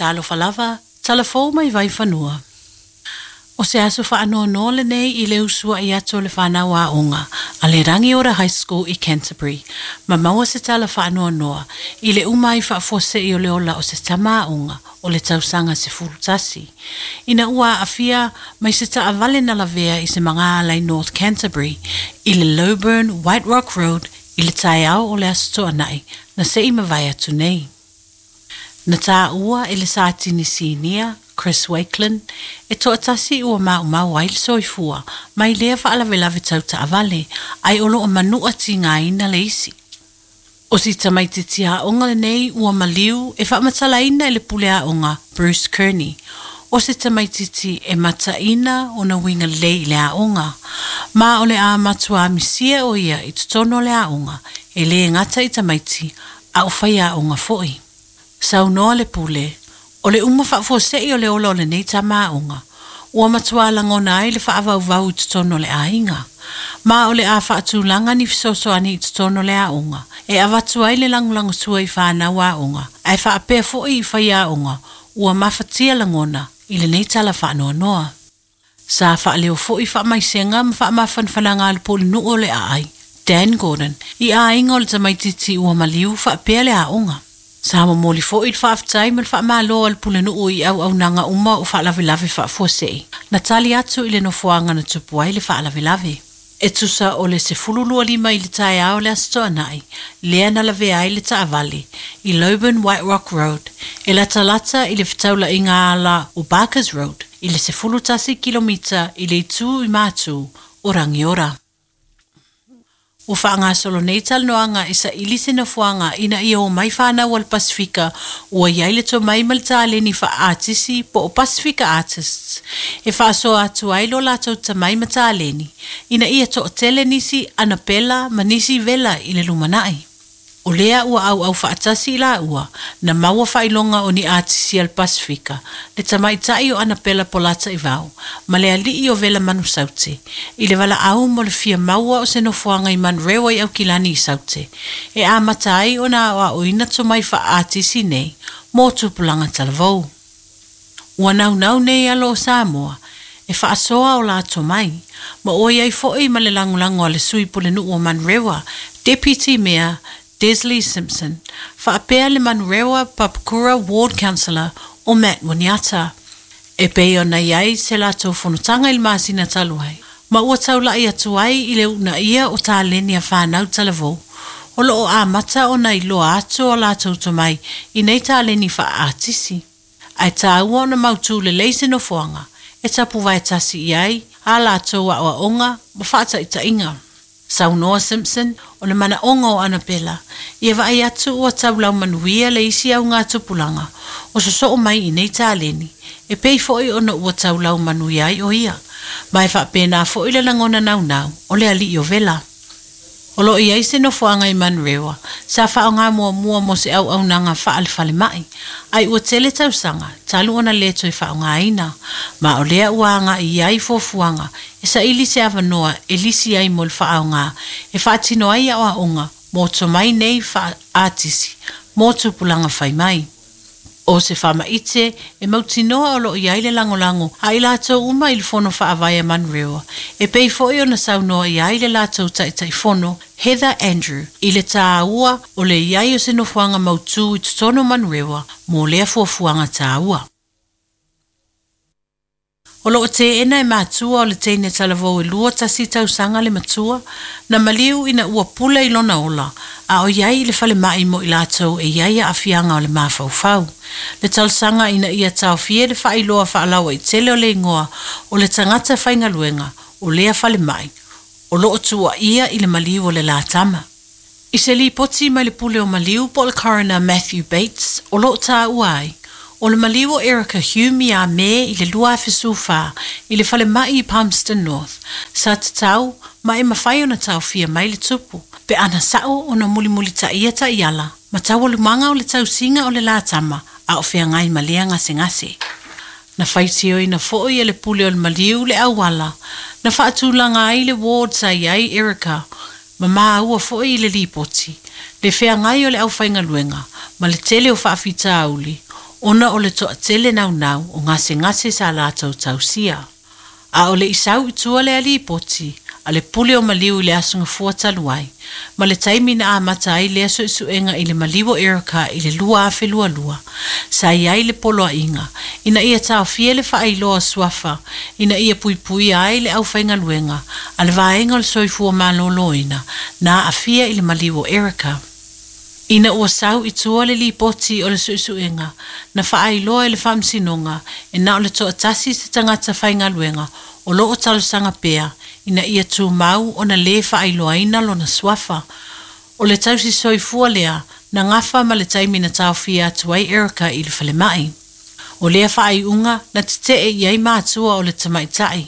Talofa lava, tala fou mai Vaifanua. O se aso faanoanoa lenei i le usuai atu o le fanau aoga a le Rangiora High School i Canterbury ma maua se tala faanoanoa i le uma ai faafuasei o le ola o se tama aoga o le tausaga 11 ina ua aafia mai se taavale na lavea i se magaala i North Canterbury i le Lowburn White Rock Road i le taeao o le Aso Toonai na se i mavae atu nei. Na taua e le Satini Sinia, Chris Wakelin, e toatasi ua maumau ai le soifua mai lea faalavelave tau taavale, ae o lo o manua tigaina le isi. O si tamaitiiti aoga lenei ua maliu e faamatalaina e le pule aoga Bruce Kearney, o se tamaitiiti e mataina ona uiga lelei i le aoga, ma o le a matua misia o ia i totonu o le aoga, e le gata i tamaiti, a o faiaoga foi. Saunoa le pule, o le uma faafuasei o le ola o lenei tama aoga, ua matua lagona ai le faavauvau i totonu o le aiga. Ma o le a faatulaga ni fesoasoani i totonu o le aoga, e avatu ai le lagolagosua i fanau aoga, ae faapea foi i faiaoga ua mafatia lagona i lenei tala faanoanoa. Sa faaleo foi faamaisega ma faamafanafanaga a le pulenuu o le Aai, Dan Gordon, i aiga o le tamaitiiti ua maliu faapea le aoga. Sa momoli foi le faafetai ma le faamalo a le pulenuu i auaunaga uma o faalavelave faafuasei, na tali atu i le nofoaga na tupu ai le faalavelave. E tusa o le 15 i le taeao o le Aso Toonai, lea na lavea ai le taavale i Lowburn White Rock Road, e latalata i le fetaulaiga ala o Barkers Road, i le 11 kilomita i le itu i matu o Rangiora. Ua faagasolo nei talanoaga e saili se nofoaga ina ia omai fanau a le Pasifika ua i ai le tomai ma le taleni faa-atisi po o Pasifika Artists e faasoa atu ai lo latou tamai ma taleni ina ia toatele nisi Anapela ma nisi Vela i le lumanai. O lea ua auau faatasi i laua na maua faailoga o ni atisi a le Pasifika, le tamaitai o Anapela Polataivao ma le alii o Vela Manusaute, i le valaau mo le fia maua o se nofoaga i Manurewa i Aukilani i Saute, e amata ai ona aoaoina tomai faa-atisi nei mo tupulaga talavou. Ua naunau nei alo o Samoa e faasoa o la tomai, ma ua i ai foi ma le lagolago a le sui pulenuu o Manurewa, Deputy Mayor Desley Simpson, faapea le Manurewa Papakura Ward Councillor o Matt Winiata. E pei ona i ai se latou fonotaga i le masina talu ai, ma ua taulai atu ai i le uunaia o taleni a fanau talavou, o lo o amata ona iloa atu o latou tomai i nei taleni faa-atisi. Ae taua ona mautu lelei se nofoaga e tapuvae tasi i ai a latou aoaoga ma faataitaiga. Saunoa Simpson, o le manaoga o Anapela, ia vaai atu ua taulau manuia le isi augatupulaga o sosoo mai i nei taleni, e pei foi ona ua taulau manuia ai o ia, ma e faapena foi le lagona naunau o le alii o Vela. O lo o i ai se nofoaga i Manurewa sa faaaoga muamua mo se auaunaga faale-falemai, ae ua tele tausaga talu ona le toe faaaogaina, ma o lea ua agai i ai fuafuaga e saili se avanoa e lisi ai mo le faaaoga e faatino ai aoaoga mo tomai nei faa-atisi mo tupulaga fai mai. O se faamaite e mautinoa o lo o i ai le lagolago a i latou uma i le Fono Faavae a Manurewa, e pei foi ona saunoa i ai le latou Taitaifono, Heather Andrew, i le taua o le i ai o se nofoaga mautu i totonu o Manurewa mo lea fuafuaga taua. O lo o teena e matua o le teine talavou e 21 tausaga le matua, na maliu ina ua pule i lona ola, a o i ai i le falemai mo i latou e i ai aafiaga o le mafaufau. Le talosaga ina ia taofia le faailoa faalauaitele o le igoa o le tagata faigaluega o lea falemai, o lo o tuuaia i le maliu o le la tama. I se lipoti mai le pule o maliu po o le coroner Matthew Bates, o lo o taua ai, o le maliu o Erica Hume ia Me i le 2014 i le falemai i Palmerston North, sa tatau ma e mafai ona taofia mai le tupu, pe ana sao ona mulimulitaia taiala ma taualumaga o le tausiga o le la tama a o feagai ma lea gasegase. Na faitioina foi e le pule o le maliu le auala na faatulaga ai le ward sa i ai Erica, ma maua foi i le lipoti, le feagai o le aufaigaluega ma le tele o faafitauli, ona o le toatele naunau o gasegase sa latou tausia. A o le i sau i tua lea lipoti a le Pule o Maliu i le Aso Gafua talu ai, ma le taimi na amata ai lea suesuega i le maliu o Erica i le 2022, sa i ai le poloaiga ina ia taofia le faailoa o suafa ina ia puipuia ai le aufaigaluega a le Vaega o le Soifua Maloloina na aafia i le maliu o Erica. Ina ua sau i tua le lipoti o le suesuega, na faailoa e le Faamasinoga e na o le toatasi se tagata faigaluega o lo o talosaga pea ina ia tumau ona lē faailoaina lona suafa. O le tausisoifua lea na gafa ma le taimi na taofia atu ai Erica i le falemai. O lea faaiuga na tetee i ai matua o le tamaitai.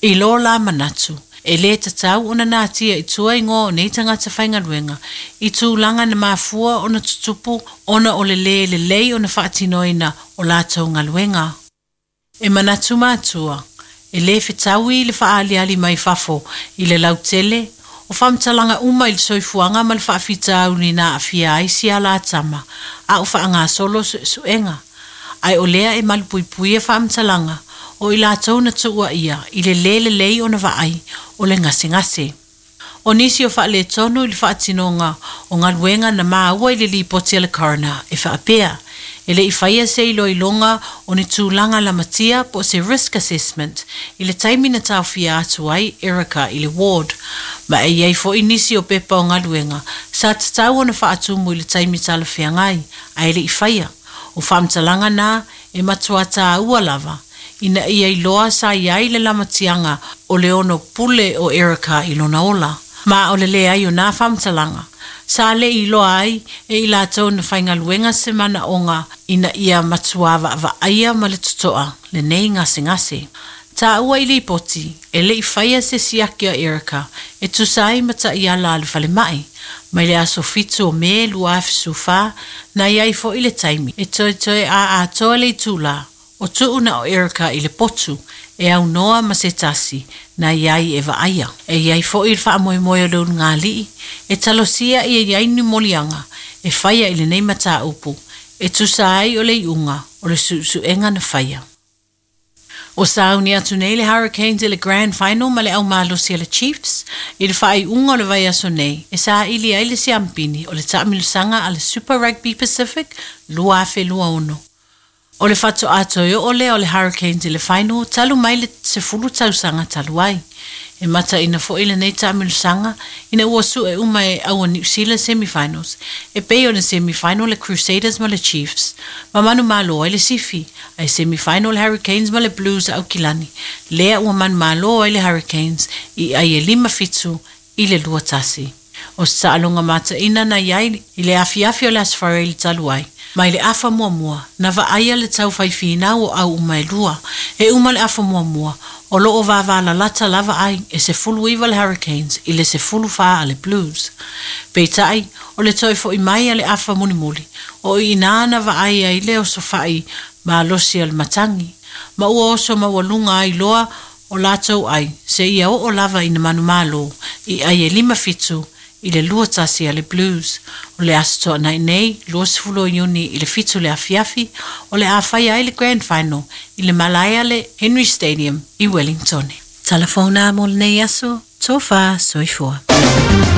I lo la manatu, e lē tatau ona natia i tua igoa o nei tagata faigaluega i tulaga na mafua ona tutupu ona o le lē lelei ona faatinoina o latou galuega. E manatu matua, e lē fetaui le faaaliali mai fafo i le lautele o faamatalaga uma i le soifuaga ma le faafitauli na aafia ai si a la tama a o faagasolo suesuega, ae o lea e malupuipuia faamatalaga o i latou na tuuaia i le lē lelei ona vaai o le gasegase. O nisi o faaletonu i le faatinoga o galuega na maua i le lipoti a le coroner e faapea, e le i faia se iloiloga o ni tulaga lamatia po o se risk assessment i le taimi na taofia atu ai Erica i le ward, ma e i ai foi nisi o pepa o galuega sa tatau ona faatumu i le taimi talafeagai ae le i faia. O faamatalaga na e matua taua lava ina ia iloa sa i ai le lamatiaga o le ono pule o Erica i lona ola. Ma o le leai o nā faamatalaga, sa le i iloa ai e i latou na faigaluega se manaoga ina ia matua vaavaaia ma le totoa lenei gasegase. Taua i lipoti, e le i faia se siaki a Erica e tusa ai ma taiala a le falemai, mai le aso 7 o Me 2014, na i ai foi le taimi e toetoe a atoa le itulā o tuuna o Erica i le potu e aunoa ma se tasi na i ai e vaaia. E i ai foi le faamoemoe o le ulugalii e talosia ia i ai ni moliaga e faia i lenei mataupu e tusa ai o le iuga o le suesuega na faia. O sauni atu nei le Hurricanes i le Grand Final ma le aumalosi a le Chiefs i le faaiuga o le vaiaso nei e saili ai le siampini o le taamilosaga a le Super Rugby Pacific 2026. O le faatoa toe oo lea o le Hurricanes i le final talu mai le 10 tausaga talu ai. E mataina foi lenei taamilosaga ina ua sue uma e au o New Zealand semifinals e pei ona semifinal le Crusaders ma le Chiefs ma manumalo ai le Sifi, ae semifinal le Hurricanes ma le Blues a Aukilani, lea ua manumalo ai le Hurricanes i ai e 5-7 i le 2-1. O se taaloga mataina na i ai i le afiafi o le Aso Faraile talu ai, mai le afa muamua, na vaaia le taufai finau o au uma e lua. E uma le afa muamua, o loo vavalalata lava ai e 19 le Hurricanes i le 14 a le Blues. Peitai, o le toe foi mai a le afa mulimuli, o i ina na vaai ai le osofai malosi o le matagi, ma ua oso maualuga ai loa o latou ai, seia oo lava ina manumalo i ai e 5-7 i le 2-1 a le Blues. O le Aso Toonai nei, 20 o Iuni i le 7 le afiafi, o le a faia ai le Grand Final i le malae a le Henry Stadium i Wellington. Tala fou na mo lenei aso, tofa soifua.